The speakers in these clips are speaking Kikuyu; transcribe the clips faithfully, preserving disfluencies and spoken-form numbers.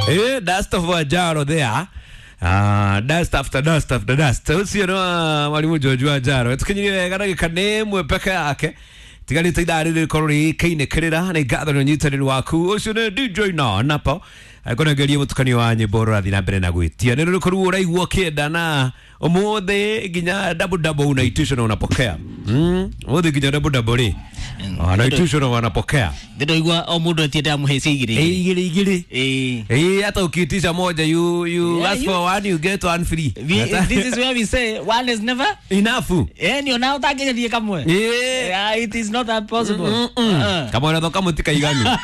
Eh, dust of Wajaro there. Ah, dust after dust after dust. Ucio no mwalimu George Wajaro. Tukinyire wega ndagĩka nĩ ĩmwe peke yake. Tigarĩte ithaa rĩrĩ rĩkorwo rĩkĩinĩkĩrĩra nĩ ngatho nĩ ũnyitanĩri waku. Ũcio nĩ D J na napo. Akũnengeria mũtukanio wa nyĩmbo ũrathiĩ na mbere na gwĩtia. Nĩ rũrĩkũ ũraigua ũkĩenda na ũmũthĩ nginya double double unaitisha na unapokea. Mm, ũmũthĩ nginya double double rĩ. Wanaitisha na wanapokea. Ndĩraigua o mũndũ etiete amũhe igĩrĩ igĩrĩ igĩrĩ. Eh. Eh, hata ukiitisha moja you you Yeah, ask you- for one you get one free. We, this is where we say one is never enough. eh ni ona ũtangĩgerie kamwe. Eh. Yeah, it is not that possible. Mm -mm. Uh-uh. Kama unathoka mũtikaiganu.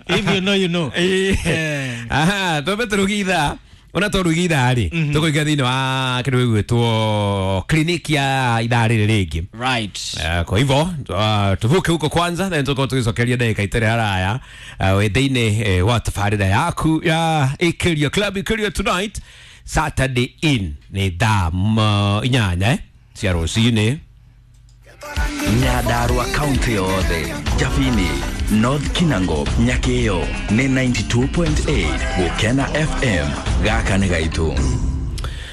If you know you know. Eh. Eh. Aha, twambe tũruge ithaa ona twaruga ithaa rĩ tũkũingĩra thĩinĩ wa kĩndũ gĩgwĩtwo kliniki ya ithaa rĩrĩ rĩngĩ. Right. Eh, kwa hivyo uh, tuvuke huko kwanza then tuko tugicokeria ndagĩka itarĩ haraya uh, wĩ thĩinĩ eh, wa tabarĩra yaku ya Ikiria Club Ikiria Tonight Saturday in nĩ thaa mm, inyanya eh, cia rũcinĩ. Nyandarua kaunti yothe Jabini, North Kinango, Nyakeo nĩ ninety-two point eight Gũkena F M gaka nĩ gaitũ.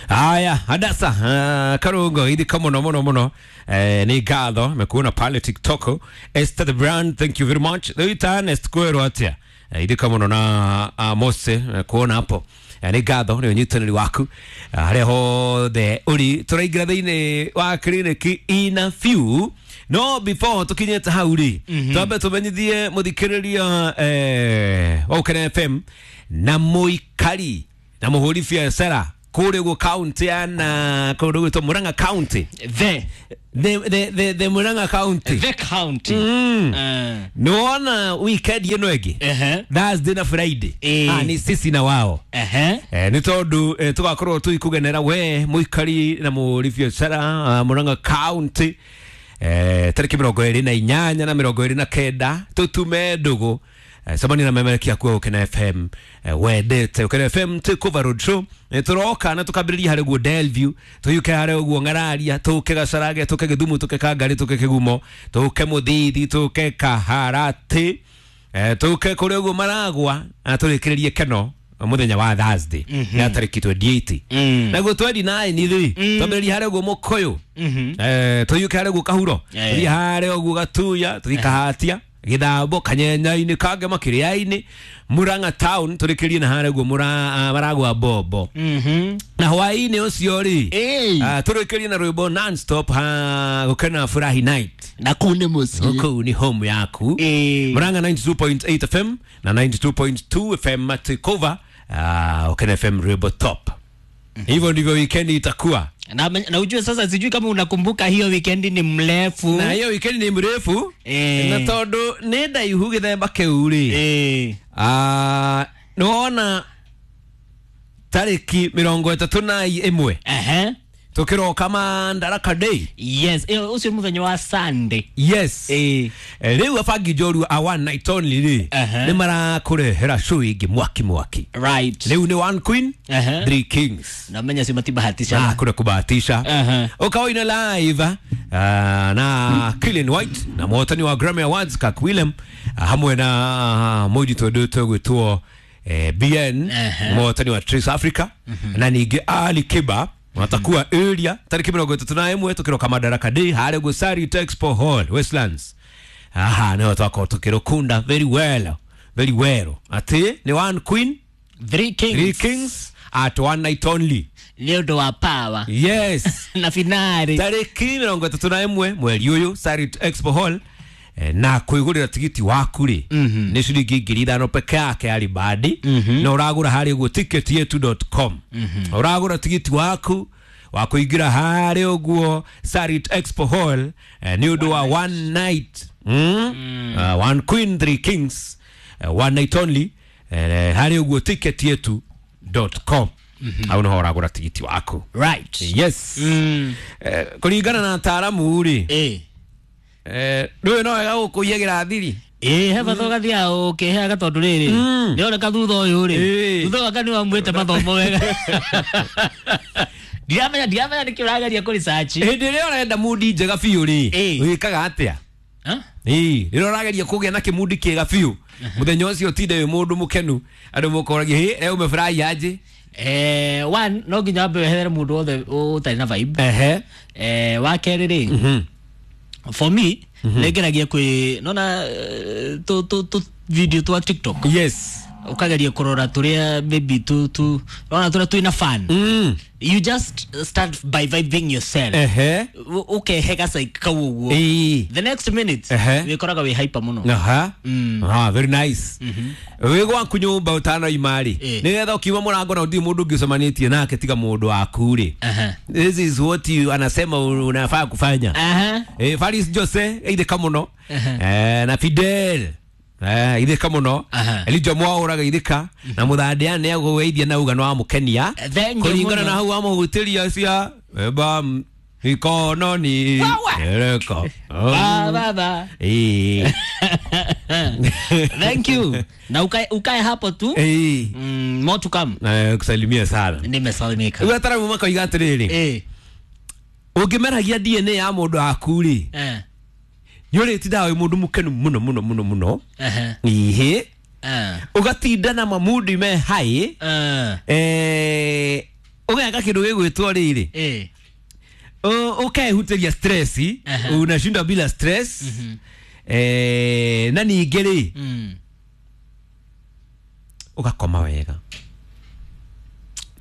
Haya, Hadasa uh, Karungo ithika mũno mũno mũno eh, nĩ ngatho mekuona pale TikTok. Esther the brand, thank you very much. Rĩu Ernest kwĩrwo atĩa eh, ithika mũno na uh, Mose eh, kuona hapo eh, nĩ ngatho nĩ ũnyitanĩri waku eh, harĩa hothe ũri. Tũraingĩra thĩinĩ wa kliniki in a few. No before tukinyĩte hau rĩ, twambe tũmenyithie mũthikĩrĩria eh, wa Gũkena F M na mũikari na mũhũri biacara kũrĩa ũguo county ya na kũndũ gwĩtwo Murang'a County. The The, the, the, the Murang'a County. the county. Mm. Uh, Nĩwona weekend ĩno ĩngĩ uh-huh. Thursday na Friday. Eh. Ah, ni sisi na wao. Uh-huh. Eh, nĩ tondũ eh, tũgakorwo tũgĩkũgenera we mũikari na mũhũri biacara uh, Murang'a County eh, tarĩki mĩrongo ĩrĩ na inyanya na mĩrongo ĩrĩ na kenda tũtume ndũgũ eh, cemania na memerekia kuo Gũkena F M eh, wendete Gũkena F M Takeover Road Show eh, tũroka na tũkambĩrĩria harĩa ũguo Delview tũyũke harĩa ũguo Ng'araria tũke Gacarage tũke Gĩthumo tũke Kangarĩ tũke Kĩgumo tũke Mũthithi tũke Kaharatĩ eh, tũke kũrĩa ũguo Maragwa na tũrĩkĩrĩrie Keno mũthenya wa Thursday ya tarĩki twenty-eight. Mm. Naguo twenty-nine rĩ twambĩrĩria harĩa ũguo Mũkũyũ eh, tũyũke harĩa ũguo Kahuro Eh. tũthiĩ harĩa ũguo Gatuya tũthiĩ Kahatia Gĩthambo Kanyenyainĩ Kangema Kĩrĩainĩ Murang'a Town tũrĩkĩrie na harĩa ũguo Mũra- Maragwa Bombo Mhm. na hwaĩ-inĩ ũcio rĩ Eh. ah, tũrĩkĩrie na rwĩmbo non-stop ha Gũkena Furahi Night. Na kũu nĩ mũciĩ. Kũu nĩ home yaku. Eh. Murang'a ninety-two point eight F M na ninety-two point two F M Takeover uh, Gũkena F M rwĩmbo top. Hivyo ndivyo weekend itakuwa. Na, na ujue sasa sijui kama unakumbuka hiyo weekend ni mrefu. Na hiyo weekend ni mrefu Eh. na tondu nĩ ndaihu gĩthemba kĩu rĩ Eh. ah, nĩwona tarĩki mĩrongo ĩtatũ na ĩmwe Uh-huh. tũkĩroka Madaraka Day. Yes, eh, ũcio mũthenya wa Sunday. Yes. Eh. Eh, rĩu abangi njorua a one night only rĩ Uh-huh. nĩ marakũrehera show ĩngĩ mwaki mwaki. Right. Rĩu nĩ one queen, Uh-huh. three kings. Na menya si matibahatisha. Ah, kuna kubahatisha. Uh-huh. Ukawaina live uh, na Killian White na mũhotani wa Grammy Awards Kirk Whelan uh, hamwe na uh, mũirĩtu wendetwo gwĩtwo eh, B N Uh-huh. mũhotani wa Trace Africa na ningĩ Ali Kiba watakuwa area tarĩki mĩrongo ĩtatũ na ĩmwe tũkĩroka Madaraka Day harĩa ũguo Sarit Expo Hall Westlands. Aha, nĩho twakorwo tũkĩrũkunda very well very well atĩ nĩ one queen Three kings. three kings at one night only. Nĩ ũndũ wa power. Yes. Na finale. Tarĩki mĩrongo ĩtatũ na ĩmwe mweri ũyũ Sarit Expo Hall eh, na kwĩgũrĩra tigiti waku rĩ nĩ ciringi ngiri ithano peke yake ya ribadi na ũragũra harĩa ũguo ticket yetu dot com. Ũragũra tigiti waku wa kũingĩra harĩa ũguo Sarit Expo Hall eh, nĩ ũndũ wa one night mm? Uh, one queen three kings uh, one night only eh, harĩa ũguo ticket yetu dot com au nĩho ũragũra tigiti waku. Right. Yes. Mm. Eh, kũringana na ataaramu rĩ Eh. eh, ndũĩ no wega gũkũiyagĩra thiri Ĩ he bata ũgathiaga ũkĩheaga tondũ rĩrĩ nĩoneka thutha ũyũ rĩ Ĩ. thutha waka nĩwamwĩte mathomo wega. Ndiramenya ndiramenya nĩkĩ ũrageria kũ research. Hĩndĩ ĩrĩa ũrenda mundi njega biũ rĩ, Ĩĩ. wĩkaga atĩa? Huh? Ĩĩ, rĩrĩa ũrageria kũgĩa na kĩmundi kĩega biũ, mũthenya ũcio ũtinde wĩ mũndũ mũkenu, andũ mũkoragia, hĩ, leo umefurahi aje? Eh, one no nginya wambe wehere mũndũ wothe ũtarĩ na vibe. Ehe. Eh, wa kerĩ rĩ, Mhm. for me nĩngeragia kwĩ nona eh, tũ tũ tũ video twa TikTok. Yes. Ũkageria kũrora tũrĩa maybe tu tu nona tũrĩa twĩna fun. Mm. You just start by vibing yourself. Ehe. U- ũkehe gacaik kau ũguo. Ĩĩ. The next minute Ehe. wĩkoraga wĩ hyper mũno. Aha. Mm. Ah, very nice. Wĩ gwaku nyũmba ũtanoima rĩ, Ĩĩ. nĩgetha ũkiuma mũrango na ũtirĩ mũndũ ũngĩ ũcemanĩtie nake tiga mũndũ waku rĩ. Aha. This is what you anasema unafaa kufanya. Aha. Eh, Faris Jose ithika muno. Aha. Eh, na Fidel eh, ithika muno. Aha. Elijah Mwauraga ithika na muthandia nĩ agũgeithia na uga no amũkenia Thank you kũringana mũno. na hau amũhutĩria cia eba mikono ni ereko. Ba, ba, ba. Eh. Thank you. Na ukae ukae hapo tu. Eh. Mm, more to come. Eh, kusalimia sana. Nimesalimika. Rĩu ataramu makoiga atĩrĩrĩ, Eh. ũngĩmeragia D N A ya mũndũ waku rĩ, Eh. nĩ ũrĩtindaga wĩ mũndũ mũkenu mũno mũno mũno mũno. Eh. Ihĩ. Eh. Ũgatinda na mamudi me high. Eh. Eh, ũgeka kĩndũ gĩgwĩtwo rĩrĩ, Eh. Ũ- ũkehutĩria stress, Aha. unashinda bila stress. Eh, na ningĩ rĩ, Mm. ũgakoma wega,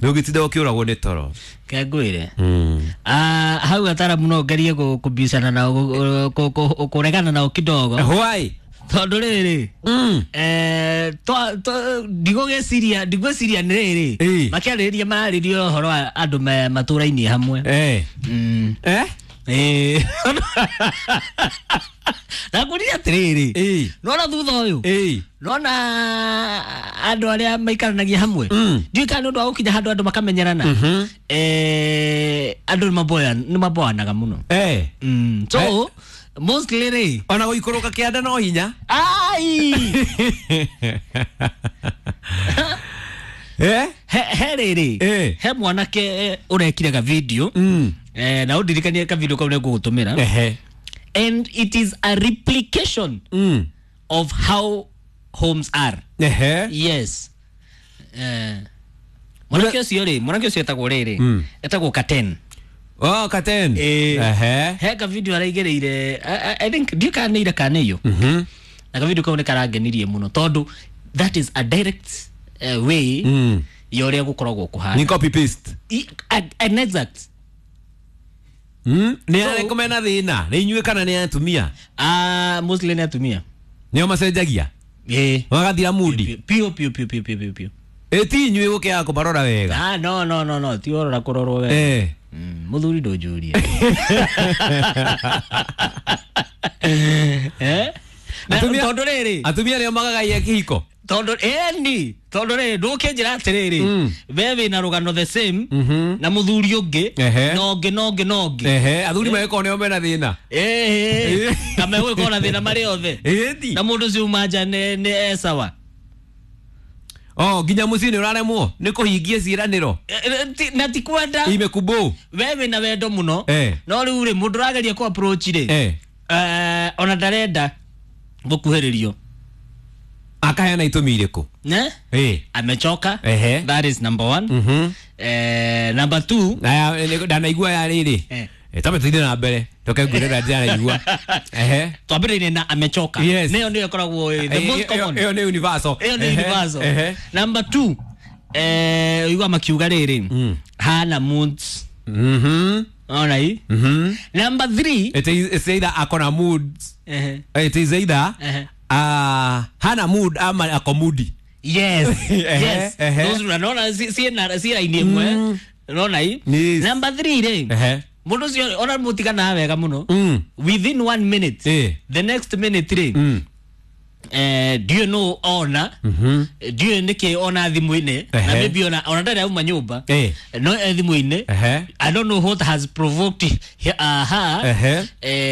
ndũngĩtinda ũkĩũragwo nĩ toro. Kengwire. Mm. Ah, hau ataramu no ngerie kũ- kũbicana nao kũ- kũ- kũ- kũregana nao kidogo. Why? Tondũ rĩrĩ, Mm. eh, twa- twa- ndigũgĩciria ndigwĩciria nĩ rĩrĩ Ĩĩ. makĩarĩrĩria mararĩria ũhoro wa andũ me matũra-inĩ hamwe. Eh. Mm. Eh? Ĩĩ. Ndakũria atĩrĩrĩ, Ĩĩ. nona thutha ũyũ, Ĩĩ. nona andũ arĩa maikaranagia hamwe, Mm. ndiũĩ kana nĩ ũndũ wa gũkinya handũ andũ makamenyerana, eh, andũ nĩ maboanaga mũno. Eh. Mm. So Eh. mostly rĩ, Ona gũikũrũka kĩanda no hinya. ai Eh? he he rĩrĩ, Eh. he mwanake eh, ũrekire ga video, Mm. eh, na ũndirikanie ka video kau nĩngũgũtũmĩra, Ehe. and it is a replication Mm. of how homes are. Ehe. Yes. Eh, mwanake ũcio rĩ, mwanake ũcio etagwo rĩrĩ, Mm. etagwo Katen. Oh, Katen. Eh. Ehe. He ka video araigĩrĩire, I, I- I think ndiũ kana nĩ ira kana nĩ iyo, Mhm. na ka video kau nĩ karangenirie mũno tondũ that is a direct uh, way Mm. ya ũrĩa gũkoragwo kũhana. Ni copy paste. I- a- an exact. Mm. Nĩ arĩkũ mena thĩna? Nĩ inyuĩ kana nĩ atumia? Ah, mostly nĩ atumia. Nĩo macenjagia? Ĩĩ. Magathira mudi? Piũ piũ piũ piũ piũ piũ piũ. Ĩ ti inyuĩ gũkĩaga kũmarora wega? Ah, no no no no, ti ũrora kũrorwo wega. Eh. Mm, mũthuri ndũnjũrie. Eh? Na Atumia- tondũ rĩrĩ, Atumia nĩo magagaia kĩhiko? tondũ ĩni, tondũ rĩrĩ ndũkĩnjĩra atĩrĩrĩ, Mm. we wĩna rũgano the same Mhm. na mũthuri ũngĩ Ehe. na ũngĩ na ũngĩ na ũngĩ. Ehe, athuri magĩkorwo nĩo mena thĩna. Ĩĩ, na megũgĩkorwo na thĩna marĩ othe. Ĩĩ Na mũndũ ũcio uma nja nĩ nĩ esawa. Oh, nginya mũciĩ nĩ ũraremwo nĩ kũhingia ciĩranĩro. Eh, eh, ti- na ti kwenda, Imekubũ. we wĩna wendo mũno, Eh. no rĩu rĩ, mũndũ ũrageria kũ approach rĩ, Eh. eh, ona ndarenda gũkuhĩrĩrio. Akaheana itũmi irĩkũ? Ne? Ĩĩ. Amechoka. Ehe. That is number one. Mhm. Eh, number two, Aya, nĩ- ndanaigua ya rĩrĩ. Eh. Eh, tambe tũthiĩ na mbere. Toke ngwĩre ũrĩa ndĩranaigua. Ehe. twambĩrĩirie na amechoka. Yes. Nĩyo nĩyo ĩkoragwo ĩ the Eh, most ĩyo- common. Ĩyo nĩ universal. Ĩyo nĩ Ehe, universal. Ehe. Number two, eh, ũigua makiuga rĩrĩ, Mm. hana moods. Mhm. Ona hii. Mhm. Number three, It is it's either akona moods. ehe, It is either Ehe. ah hana mood ama ako moody. Yes. Ehe, Yes. ehe. Those unaona si si na si raini ĩmwe. Unaona hii? Yes. Number three rĩ, Ehe. mũndũ ũcio ona mũtiganaga wega mũno, Mm. within one minute, Eh. the next minute rĩ, Mm. eh, ndiũĩ nũ ona, ndiũĩ nĩkĩ ona thimũ-inĩ, na Ehe. maybe ona ona ndarĩ auma nyũmba, Eh. no e thimũ-inĩ. Ehe. I don't know what has provoked he- uh, her. Ehe. Eh,